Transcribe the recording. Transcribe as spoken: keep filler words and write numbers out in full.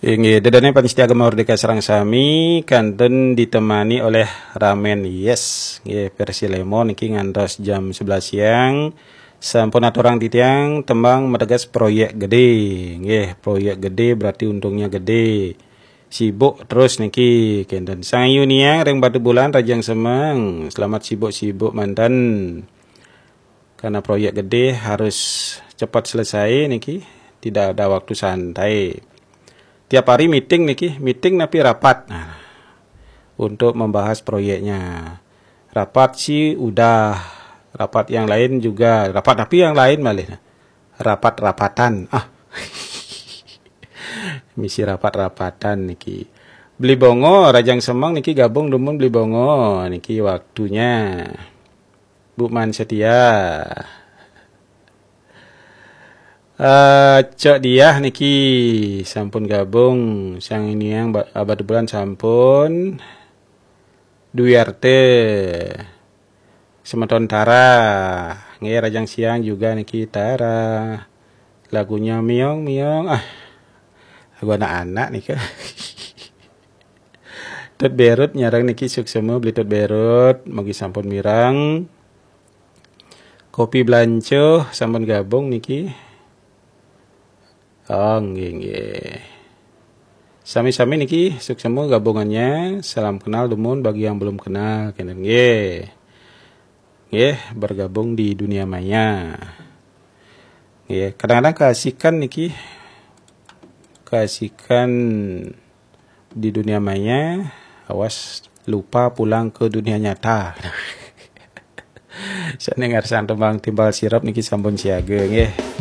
Inggih, ida dané pamiarsa Gema Merdeka sareng sami kantun ditemani oleh Ramen Yes. Nggih, versi lemon niki ngantos jam sebelas siang. Sampun aturang titiang tembang mateges proyek gedé. Nggih, proyek gedé berarti untungnya gedé. Sibuk terus niki kenten. Sang Ayu Niang ring Batubulan, Rajang Semeng. Selamat sibuk-sibuk manten. Karena proyek gedé harus cepat selesai niki, tidak ada waktu santai. Tiap hari meeting niki, meeting napi rapat. Nah, untuk membahas proyeknya. Rapat sih udah, rapat yang lain juga, rapat tapi yang lain malih. Rapat-rapatan. Ah. Misi rapat-rapatan niki. Beli Bongo, Rajang Semeng niki gabung dumun Beli Bongo. Niki waktunya. Bu Man Setia. Eh, Cok Diah niki sampun gabung, Sang Ayu Niang ba-, Batubulan sampun. Dwi Arte. Semeton Tara. Nggih, Rajang Siang juga niki Tara. Lagunya Miong Miong. Ah. Lagu anak-anak nika. Tut Berut nyareng niki suksema Beli Tut Berut, mugi sampun mireng. Kopi Blanco sampun gabung niki. Oh, nggih, nggih. Sami-sami niki suksema gabungannya. Salam kenal dumun bagi yang belum kenal, kenten nggih. Nggih, bergabung di dunia maya. Nggih, kadang-kadang keasikan niki, keasikan di dunia maya, awas lupa pulang ke dunia nyata. Sané ngarsang tembang Timbal Sirep niki sampun siaga nggih.